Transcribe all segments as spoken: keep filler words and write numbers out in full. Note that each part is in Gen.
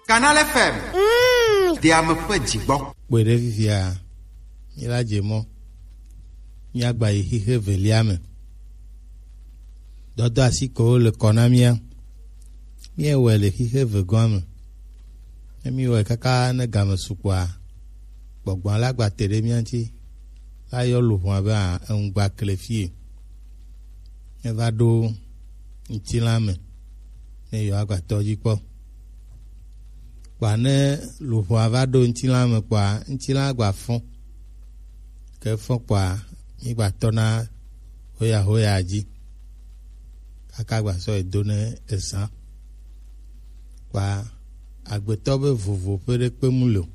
Canal F M. Mm. Deame ƒe dzigbɔ. Kpɔe ɖe fifia, míla dze mɔ. Míagba yi xixe velia me. Dɔdɔ asi ko le kɔ na mía. Míewɔe le xixe vegɔa me. Ne míewɔe kaka ne game sukpɔa, gbɔgbɔ la gba te ɖe mía ŋuti. La yɔ luʋɔa be a, eŋugba kle fie. Eva ɖo ŋutilã me ne yewoagba tɔ dzi kpɔ. Kpɔa ne luʋɔa va ɖo ŋutilã me kpɔa, ŋutilã gba fɔ. Ke fɔ kpɔa, mígba tɔna hoya hoya dzi. Kaka gba sɔ yi do ne ezã. Kpɔa, agbetɔ be vovo ƒe ɖe kpe mu le o.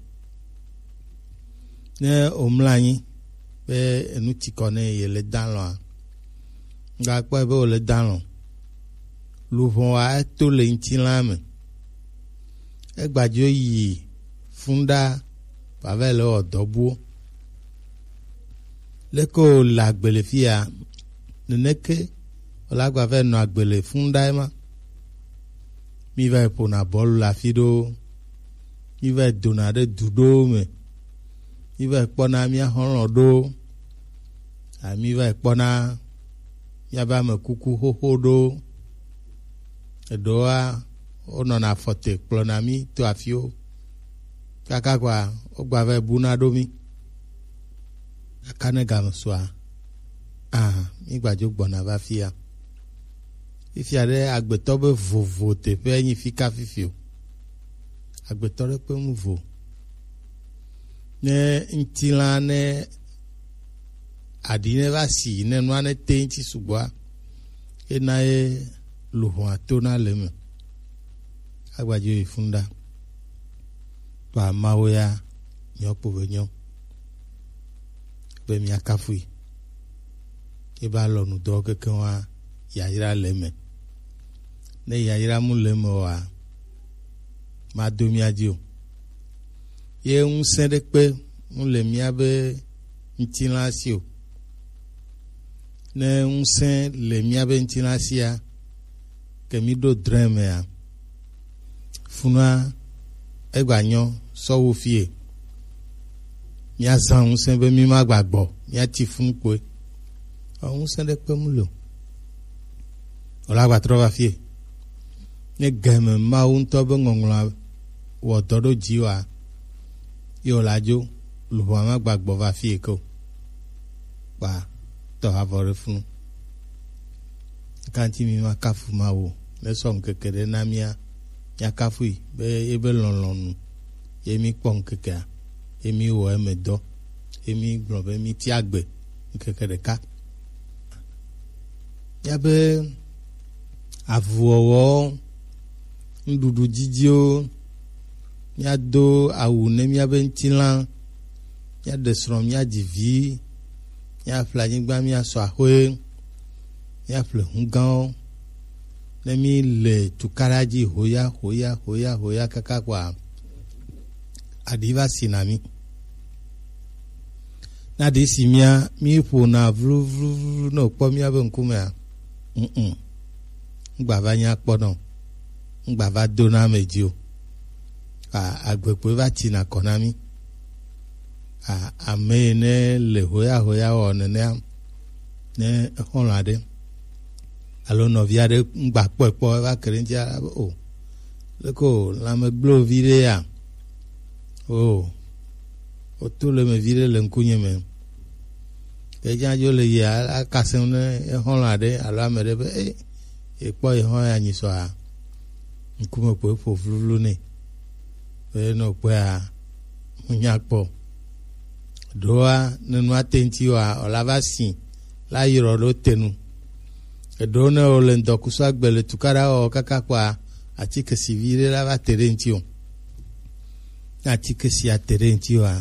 Ne womlɔ anyi be enu ti kɔ ne yele dalɔa, ŋgakpɔe be wole dalɔ. Luʋɔa eto le ŋutilã me. Egbadzo yi funda vava le wɔ dɔ buwo. Leke wòle agbe le fia, neneke wòle agba va nɔ agbe le funda ema. Mí va yi ƒona bɔlu le afi ɖewo. Mí va yi dona ɖe du ɖewo me. Mí va yi kpɔna mía xɔlɔ̃ ɖewo. A, mí va yi kpɔna míabe ame kuku xoxo ɖewo. Eɖewoa, wonɔna afɔ te kplɔna mí to afiwo. Kaka kɔa, wogba va yi buna ɖo mí. Kaka ne game sua, a, mígbadzo gbɔna va fia. Fifia ɖe agbetɔ be vovo teƒe nyi fika fifi o. Agbetɔ ɖe kpe mu vo. Ne ŋutilã ne aɖi ne va si ne nua ne te ŋuti sugbɔa, ena ye luʋɔa tona le eme. Agbadzo yi fun ɖa. Kpɔa Mawu ya nyɔ kpo be nyɔ. Be mía kafui. Ebe alɔnu dɔ keke wa yayra le eme. Ne yayra mu le eme oa, mado mía dzi o. Ye ŋusẽ ɖe kpe mu le míabe ŋutilã si o. Ne ŋusẽ le míabe ŋutilã sia, ke mí ɖo drẽ mea, funua egba nyɔ sɔ wu fie. Míazã ŋusẽ be mí ma gba gbɔ, míati funu kpoe. Ɔ, ŋusẽ ɖe kpe mu le o. Wòle agba trɔ va fie. Ne game Mawu ŋutɔ be ŋɔŋlɔa wɔ dɔ ɖo dzi wa, ye wòle adzo, luʋɔa ma gba gbɔ va fie ke o. Kpa tɔ avɔ ɖe funu. Kanti mi ma kafu Mawu, ne sɔ ŋkeke ɖe na mía, mía kafui be ebe lɔlɔ̃nu ye mi kpɔ ŋkekea, ye mi wɔ eme dɔ, ye mi gblɔ be mi tia gbe ŋkeke ɖeka. Míabe avuwɔwɔ, nuɖuɖu didiwo, míado awu ne míabe ŋutilã, míaɖe srɔ̃, míadzi vi, míaƒle anyigba, míasɔ axɔe, míaƒle hugãwo. Ne míle tukaɖa dzi hoya, hoya, hoya, hoya kaka kpɔa, aɖi va si na mí. Ne aɖi si mía, míƒona vluvluvlu ne wòkpɔ míabe ŋkumea, mm, ŋgba va nya kpɔ nɔ, ŋgba va do na ame dzi o. A, agbe kpoe va tsina kɔ na mí. A, ame yi ne le hoya hoya wɔ nenea, ne exɔlɔ̃ aɖe alo nɔvi aɖe ŋgba kpɔe kpɔ, eva ke ɖe ŋuti abe o, leke o, lãme gblẽ vi ɖe ya? O, woto le me vi ɖe le ŋkunye me. Ke dza dzo le yia, akasem ne exɔlɔ̃ aɖe alo ame ɖe be, e, ekpɔ exɔ ya nyi sɔa, ŋkume ko eƒo vluvlu nɛ. Be ne wòkpɔea, ŋunya kpɔ. Ɖoa, ne nua te ŋuti oa, wòla va si, la yrɔ ɖo te nu. Eɖewo ne wòle ŋdɔkusu agbe le tukaɖa wɔ kaka kpɔa, atike si vi ɖe la va te ɖe ŋuti o. Ne atike sia te ɖe ŋuti oa,